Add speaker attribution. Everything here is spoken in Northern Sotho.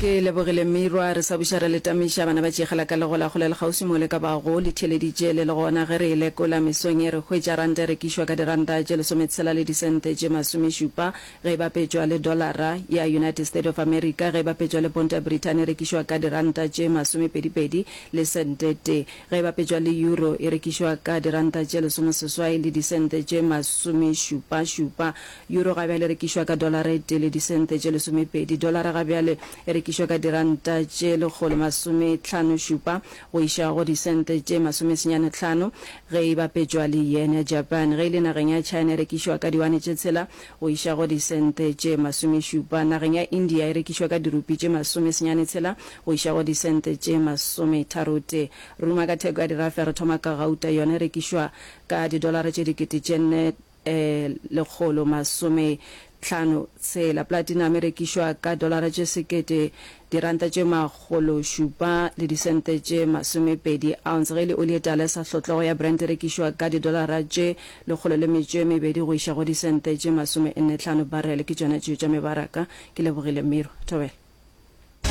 Speaker 1: Ke lebogile Mirwa, re sa buša re le tamiša bana ba tšegela ka legola kgole le kgauswi mo le ka bago le theeleditše le le gona. Ge re e lekola mesong ye re hwetša ranta e rekišwa ka diranta tše lesometshela le disente tše masomešupa ge e bapetšwa le dolara ya United State of America, ge e bapetšwa le ponto ya Brithani e rekišwa ka diranta tše masomepedipedi le sente tee, ge e bapetšwa le euro e rekišwa ka diranta tše lesomeseswai le disente tše masomešupašupa. Euro ga bjale e rekišwa ka dolara e tee le disente tše lesomepedi. Dolara ga bjale e rekišwa ka diranta tše lekgolomasometlhanošupa go iša go disente tše masomesenyanetlhano ge e bapetšwa le yen ya Japan. Ge e le nageng ya China e rekišwa ka diwane tše tshela go iša go disente tše masomešupa. Nageng ya India e rekišwa ka dirupi tše masomesenyanetshela go iša go disente tše masometharotee. Ruma ka theko ya dirafe re thoma ka gauta, yona e rekišwa ka didolara tše 4000. 156. Platinum e rekišwa ka dolara tše sekete, diranta tše makgološupa le disente tše masomepedi ounce. Ge e le oli e tala e sa hlotlogo ya Brent e rekišwa ka didolara tše 102 go iša go disente tše masomennetlhano barrel. Ke tšona tšeo tša mebaraka. Ke lebogile Miro. Thobela.